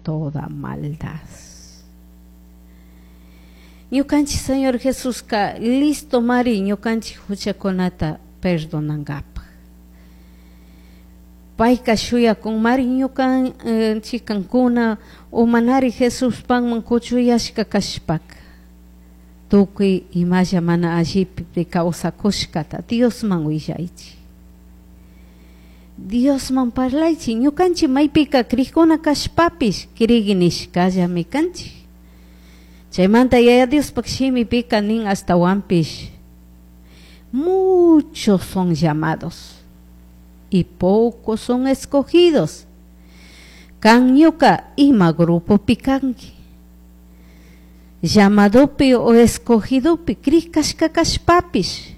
Toda maldad. Ñukanchik Señor Jesuska listo mari ñukanchik huchakunata perdonangapaj. Payka shuyakunmari ñukanchik kankuna umanari Jesuspanman kuchuyashka kashpaka tukuy imalla mana allipi kawsakushkata Diosman willaychik. Diosman parlaychik ñukanchik maypika krikuna kashpapish krigi nishkallami kanchik. Chaymanta Yaya Diospaq shimipika nin ashtawanpish muchos son llamados y pocos son escogidos. Kan ñuka ima grupopi kanki. Llamadopi o escogidopi krik kashka kashpapish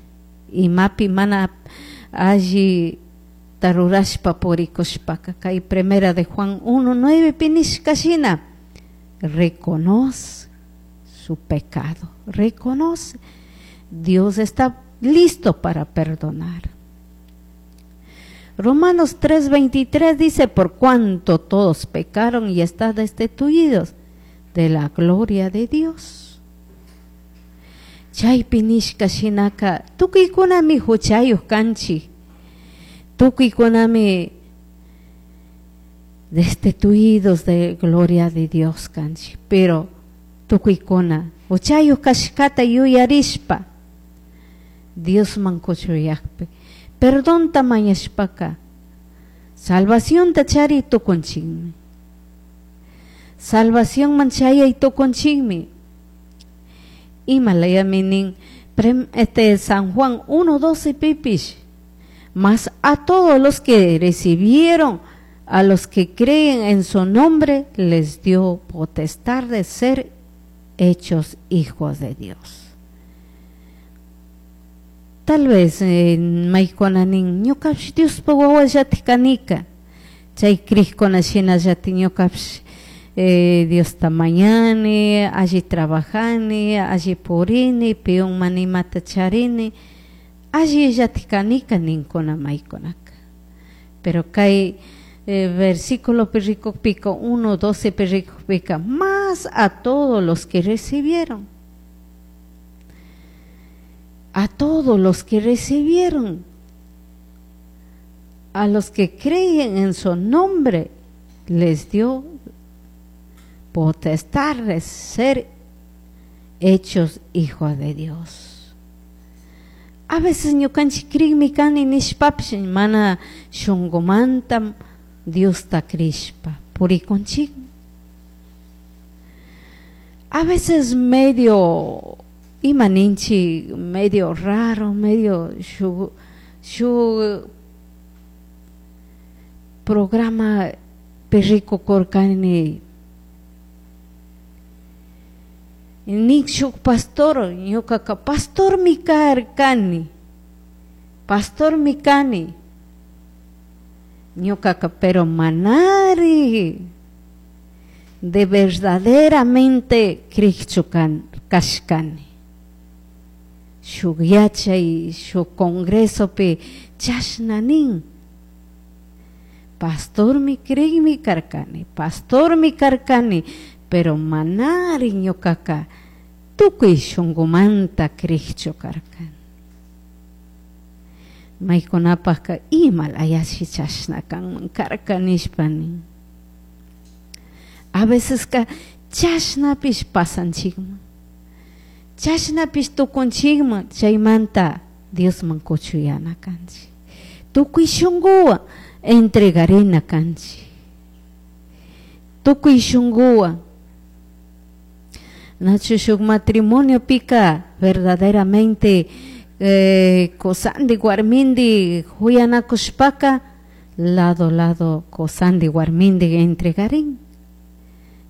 imapi mana alli tarurashpa purikushpaka kay Primera de Juan 1:9 pi nishka shina reconoce su pecado, reconoce. Dios está listo para perdonar. Romanos 3:23 dice, por cuanto todos pecaron y están destituidos de la gloria de Dios. Chaypi nishka shinaka tukuykunami huchayuq kanchik, tukuykunami destituidos de gloria de Dios kanchik, pero tukuykuna huchayuq kashkata yuyarishpa Diosman kuchuyakpi perdonta mañashpaka salvacionta chari tukunchikmi, salvacionman chayay tukunchikmi. Ima layami nin San Juan 1:12 pipish, mas a todos los que recibieron, a los que creen en su nombre, les dio potestad de ser hechos hijos de Dios. Tal vez maykuna nin ñukapish Diospa wawallatik kanika, chay krikuna shinallatik ñukapish Diosta mañani, alli trabajani, alli purini, piyunman imata charini, alli llatik kanika ninkuna maykunaka. Pero kay versículo rikukpika 1:12 rikukpika, más a todos los que recibieron, a todos los que recibieron, a los que creen en su nombre, les dio potestad de ser hechos hijos de Dios. A veces ñukanchik krikmi kani nishpapish mana shunqumanta Diosta krishpa purikunchik. A veces medio ima ninchik, medio raro, medio shu programa rikukurkani nin shuk pastor, ñukaka pastormi karkani, pastormi kani, ñukaka pero manari de verdaderamente krikchu kashkani. Shuk yachay, shuk congresopi chashna nin, pastormi krikmi karkani, pastormi karkani, pero manari ñukaka tukuy shunqumanta krikchu karkani. Maykunapaqka ima layashi chashna kanman karka nishpa nin. A veces ka chashnapish pasanchikman, chashnapish tukunchikman, chaymanta Diosman kuchuyana kanchik, tukuy shunquwan entregarina kanchik, tukuy shunquwan. Nachu shuk matrimonio pika verdaderamente kosandi warmindi huyanakushpaka lado lado kosandi warmindi entregarin,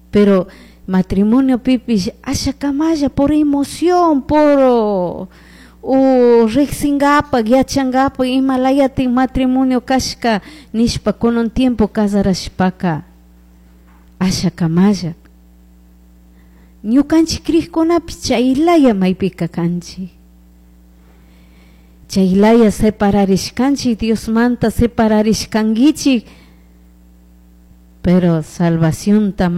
pero matrimonio pipish ashakamalla por emoción, por riqsingapak yachangapak ima layatik matrimonio kashka nishpa kunan tiempo casarashpaka ashakamalla ñukanchik krikkunapish chaylaya maypika kanchik, chaylaya separarishkanchik Diosmanta separarishkankichik, pero salvacionta